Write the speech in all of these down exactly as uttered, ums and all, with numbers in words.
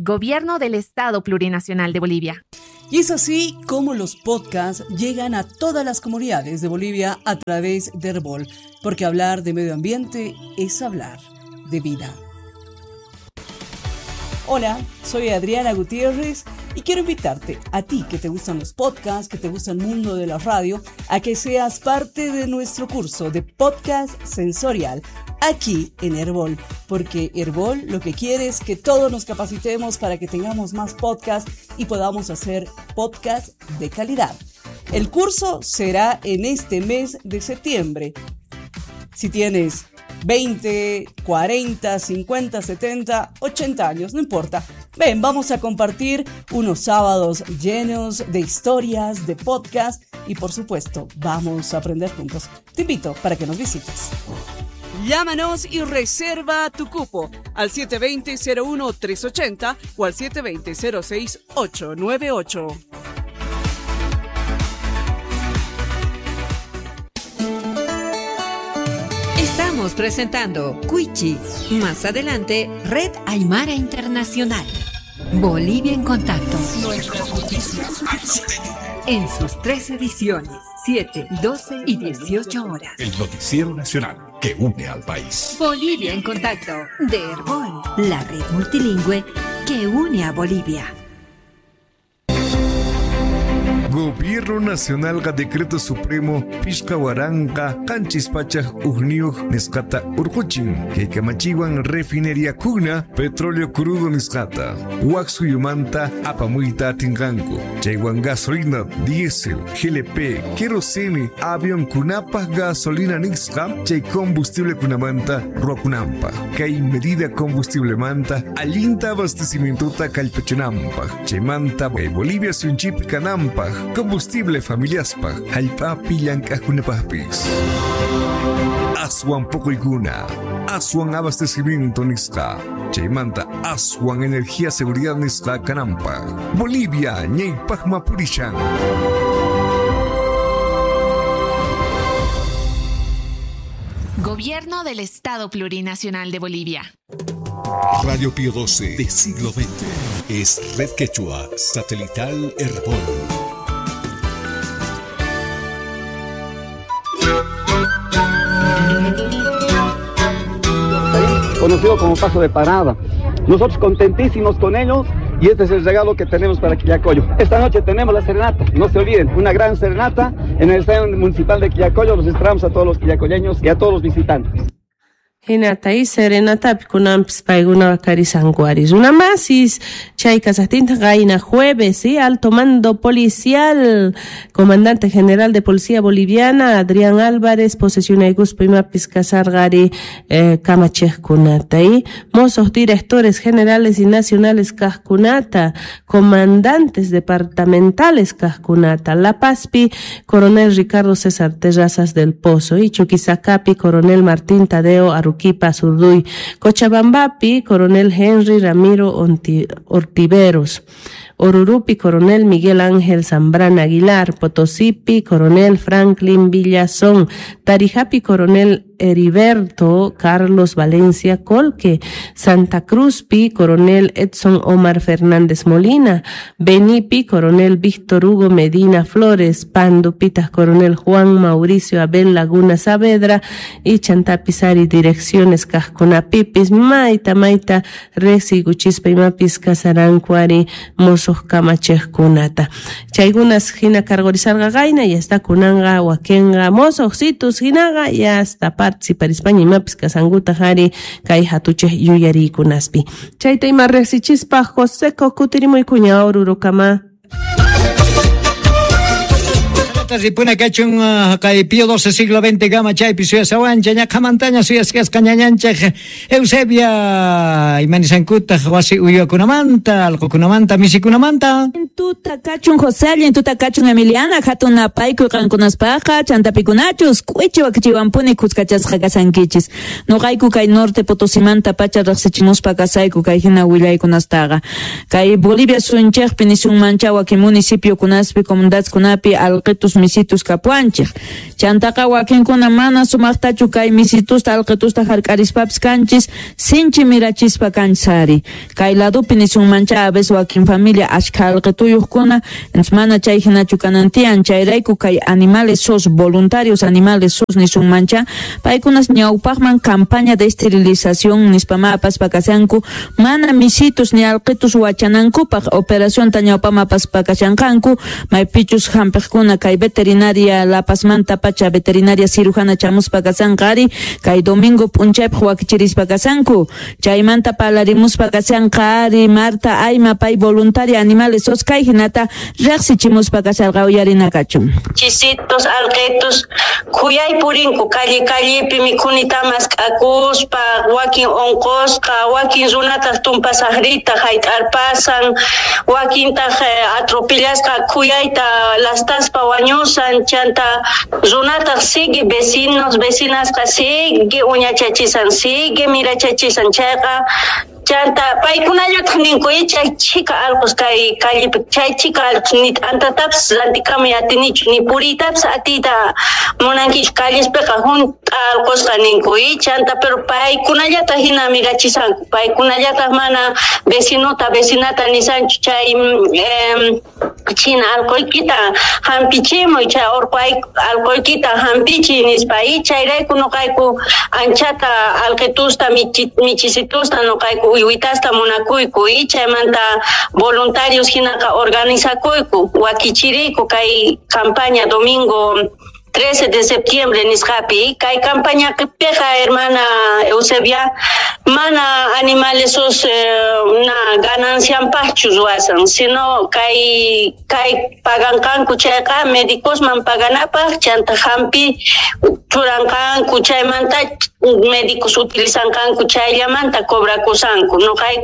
Gobierno del Estado Plurinacional de Bolivia. Y es así como los podcasts llegan a todas las comunidades de Bolivia a través de Herbol, porque hablar de medio ambiente es hablar de vida. Hola, soy Adriana Gutiérrez y quiero invitarte a ti que te gustan los podcasts, que te gusta el mundo de la radio, a que seas parte de nuestro curso de podcast sensorial aquí en Herbol, porque Herbol lo que quiere es que todos nos capacitemos para que tengamos más podcasts y podamos hacer podcasts de calidad. El curso será en este mes de septiembre. Si tienes veinte, cuarenta, cincuenta, setenta, ochenta años, no importa. Ven, vamos a compartir unos sábados llenos de historias, de podcast y por supuesto, vamos a aprender juntos. Te invito para que nos visites. Llámanos y reserva tu cupo al siete veinte, cero uno tres ochenta o al siete veinte, cero seis ocho nueve ocho. Estamos presentando Cuichi. Más adelante, Red Aymara Internacional. Bolivia en Contacto. Nuestras noticias. En sus tres ediciones, siete, doce y dieciocho horas. El noticiero nacional que une al país. Bolivia en Contacto, de Herbol, la red multilingüe que une a Bolivia. Gobierno Nacional ga Decreto Supremo Pishka Waranqa Qanchis Pachaj Ujniyuq nisqata urquchin kay kamachiwan refinería kuna petróleo crudo nisqata wak suyumanta apamuyta atinqanku chaywan gasolina diésel G L P kerosene avión kunapaj gasolina nisqa chay combustible kunamanta ruwakunanpaj kay medida combustible manta allinta abastecimientota kallpachinanpaj chaymanta kay Bolivia suyunchikpi kananpaj combustible familiaspaj jallp'api llank'ajkunapajpis. Aswan poqoykuna, aswan abastecimiento nisqa, chaymanta aswan energía seguridad nisqa kananpaj. Bolivia ñaypajma purishan. Gobierno del Estado Plurinacional de Bolivia. Radio Pío doce de siglo veinte es Red Quechua Satelital Herbol. Conocido como paso de parada. Nosotros contentísimos con ellos y este es el regalo que tenemos para Quillacollo. Esta noche tenemos la serenata, no se olviden, una gran serenata en el Estadio Municipal de Quillacollo. Los esperamos a todos los quillacolleños y a todos los visitantes. Hinata y serenatapi kunanpis paykuna karisankuaris. Una masis chay kasaqtinta qayna jueves, ¿sí? Alto mando policial, comandante general de Policía Boliviana, Adrián Álvarez, posesionaykuspa imapis kasarqari eh, kamachejkunata, ¿sí? Mozos directores generales y nacionales kajkunata, comandantes departamentales kajkunata, La Pazpi, coronel Ricardo César Terrazas del Pozo, y Chuquisacapi, coronel Martín Tadeo Aruquipa Zurduy, Cochabambapi, coronel Henry Ramiro Onti, Ortiveros, Orurupi, coronel Miguel Ángel Zambrana Aguilar, Potosipi, coronel Franklin Villazón, Tarijapi, coronel Heriberto Carlos Valencia Colque, Santa Cruzpi, coronel Edson Omar Fernández Molina, Benipi, coronel Víctor Hugo Medina Flores, Pandupitas, coronel Juan Mauricio Abel Laguna Saavedra y Chantapizari, direcciones Casconapipis, Maita Maita, Resi, Guchispa y Mapis, Casarancuari, Mozos Kamachejkunata. Chaygunas hina cargorizarga gaina, ya está kunanga, wakenga, mozos, situs, hinaga, ya hasta participarispaña imapis kasanguta jari kay hatuchej yuyarikunaspi. Chayta ima riqsichispa José Kutirimoykuña Orurukama. Ripuna kachun kay Pío doce siglo veinte gama chaypi suyasawancha ñaqhamantaña suyasqasqa ñañanchej Eusebia imanisankutaq wasi uywakunamanta allqukunamanta misikunamanta. Tuta kachun José, allin tuta kachun Emiliana, hatun napaykuy qankunaspaqa chantapikunachus k'uichi wakichiwanpuni kuskachasqa kasankichis. Nuqayku kay norte Potosimanta pacha riqsichimuspa kasayku kay hina willaykunastaqa. Kay Bolivia suyunchikpi nisunmancha wakin municipiokunaspi comunidadkunapi alqitus misitus kapuanchej. Chantaqa wakinkuna mana sumaqtachu kay misitusta alqitusta hark'arispapis kanchis sinchi mirachispa kanchis ari. Kay ladupi nisunmancha a veces wakin familia ashkha alqituyuqkuna mana chay hinachu kanantian chayrayku kay animales sos voluntarios animales sos nisunmancha paykunas ñawpaqman campaña de esterilización nispama apaspa kashanku mana misitus ni alqitus wachanankupaq operación ta ñawpama apaspa kashanqanku maypichus hampiqkuna kay veterinaria La Pazmanta pacha veterinaria cirujana chamuspa kashanqa ari kay domingo p'unchaypaq wakichirispa kashanku chaymanta parlarimuspa kashanqa ari Marta Ayma pay voluntaria animales sos kay hinata riqsichimuspa kasharqa uyarina kachun. Chisitos alqitus khuyay purinku calle callepi mikhunita mask'akuspa wakin unqusqa wakin runataq tumpasaqrita hayt'arpasan wakintaq atropellasqa khuyayta lastaspa wañusan chanta runataq sigue vecinos vecinasqa sigue uñachachisan sigue mirachachisan chayqa chanta paykunallataq ninku chay chhika allqus kay callepi chay chhika allqus ni t'antatapis rantikamuy atinichu ni puriytapis atiyta munankichu callespiqa hunt'a allqusqa ninku chanta pero paykunallataq hina mirachisanku paykunallataq mana vecinota vecinata nisanchu chay china allquykita hampichimuy chay urqu allquykita hampichiy nispa chayrayku nuqayku anchata alqitusta michisitusta nuqayku uywitasta munakuyku y chaymanta voluntarios hinaqa organizakuyku wakichiriyku kay campaña domingo trece de septiembre nisqapi kay campaña qipiqa hermana Eusebia mana animales sus eh, na ganancianpaqchu ruwasan sino kay kay paganqanku chayqa médicosman paganapaq chanta hampi churanqanku chaymanta médicos utilizanqanku chayllamanta cobrakusanku nuqay.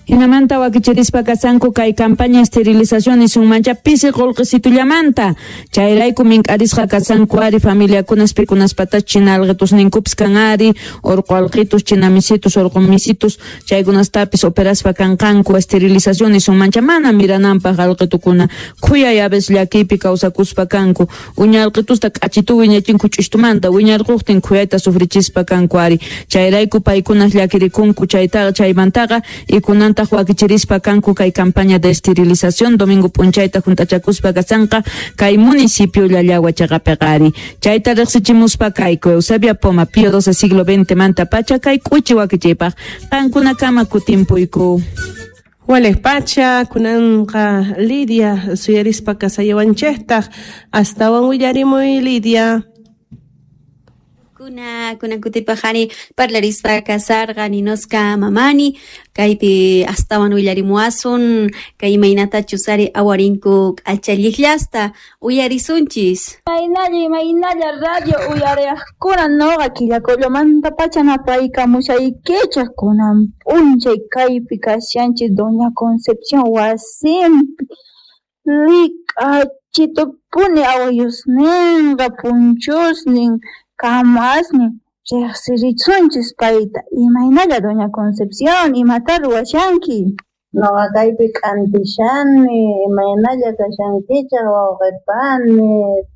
Hinamanta wakichirispa kasanku kay campaña esterilización nisunmancha pisi qullqisitullamanta chayrayku mink'arisqa kasanku ari familiakunas pikunaspatach china alqitusninkupis kan ari urqu alqitus china misitus urqu misitus chaykunastapis operaspa kanqanku esterilización nisunmancha mana mirananpaq alqitukuna khuyay a veces llakiypi kawsakuspa kanku uña alqitusta k'achitu wiñachinku ch'ishtumanta wiñarquqtin khuyayta sufrichispa kanku ari chayrayku paykunas llakirikunku chaytaqa chaymantaqa ikunan wakichirispa kanku kay campaña de esterilización domingo p'unchayta juntachakuspa kasanqa kay municipio Llallagua chaqapiqa ari chayta riqsichimuspa kayku Eusebia Poma Pío doce siglo veinte manta pacha kay k'uchi wakichiypaq qankunakama kutimpuyku. Walej pacha kunanqa Lidia suyarispa kasayawanchejtaq astawan willarimuy Lidia. Kuna kuna kutipajani parlarispa kasarqa ninosqa mamani kaypi astawan willarimuwasun kay imaynatachus ari awarinku k'achalliqllasta uyarisunchis. Imaynalla imaynalla radio uyariqkuna noqa Quillacollomanta pacha napaykamushaykichej kunan p'unchay kaypi kashanchis Doña Concepción wasinpi lik'achitupuni awayusninqa punchusnin kamasnin riqsirisunchis payta. Imaynalla Doña Concepción imata ruwashanki? Noqa kaypi k'antishani imaynalla kashankichaq wawqipani.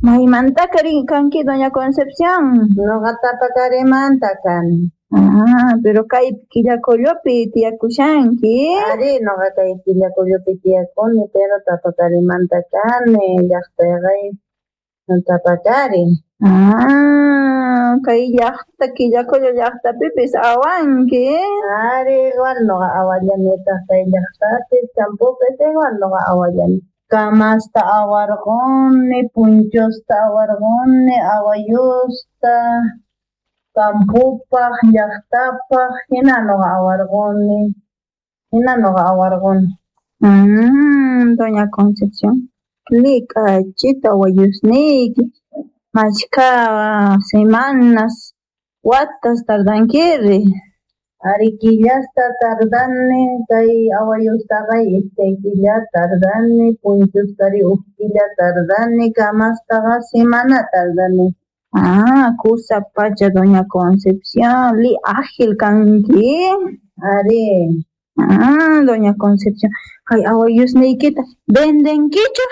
Maymanta kanki Doña Concepción? Noqa Tapakarimanta kani. Ah, pero kay Quillacollopi tiyakushanki? Ari, noqa kay Quillacollopi tiyakuni, pero Tapakarimanta kani, llaqtayqa Tapakari. Ah, kay llaqta Quillacollo llaqtapipis awanki? Ari, igual noqa awallanitaq kay llaqtapis, champupis igual noqa awallani. Kamasta awarquni, punchusta awarquni, awayusta, kampupaq, llaqtapaq, hina noqa awarquni, hina noqa awarquni. Mm, Doña Concepción, lik'achita awayusniyki, mashkha semanas, watas tardankiri? Ari killasta tardani, kay awayustaqa iskay killa tardani, punchustari huk killa tardani, kamastaqa semana tardani. Ah, kusa pacha Doña Concepción, li ágil kanki? Ari. Ah, Doña Concepción, kay awayusniykita vendenkichu?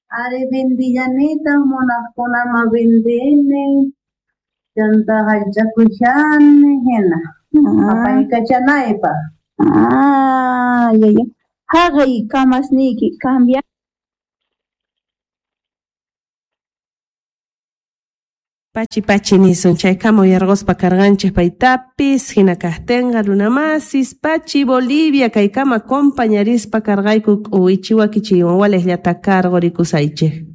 Ari vendillanitaq munaqkunaman vendini, chanta jallch'akushani hina apaykachanaypaq. Ah, ya, ya. Haqay kamasniyki cambia. Pachi pachi nisun chaykama uyarquspa karqanchik paytapis hina kaqtinqa runamasis pachi Bolivia kaykama compañarispa karqayku k'uwichi wakichiywan waliqllata karqurikusaychik.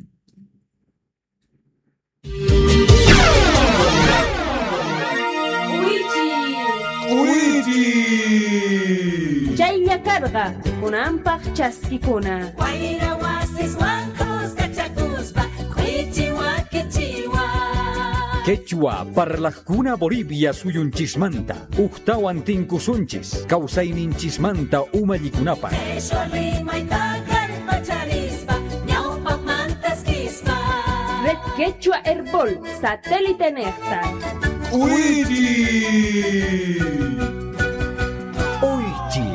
Chaylla karqa kunanpaq chaskikuna. Wayra wasiswan kuskachakuspa k'uwichi wakichiwan. Quechua parlajkuna Bolivia suyunchismanta ujtawan tinkusunchis kawsayninchismanta umallikunapaq. Qheshwa rimayta kallpacharispa ñawpaqmantaskispa. Red Quechua Herbol satélite nejta. Uichi. Uichi.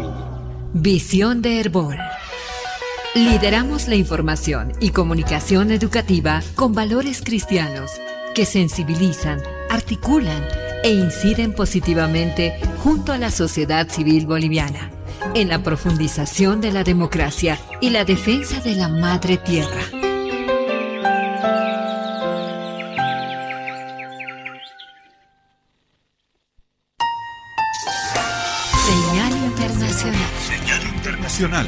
Visión de Herbol. Lideramos la información y comunicación educativa con valores cristianos que sensibilizan, articulan e inciden positivamente junto a la sociedad civil boliviana en la profundización de la democracia y la defensa de la madre tierra. Señal internacional. Señal internacional.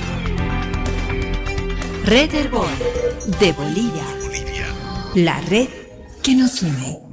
Red Herbol de Bolivia. Bolivia. La red que nos une.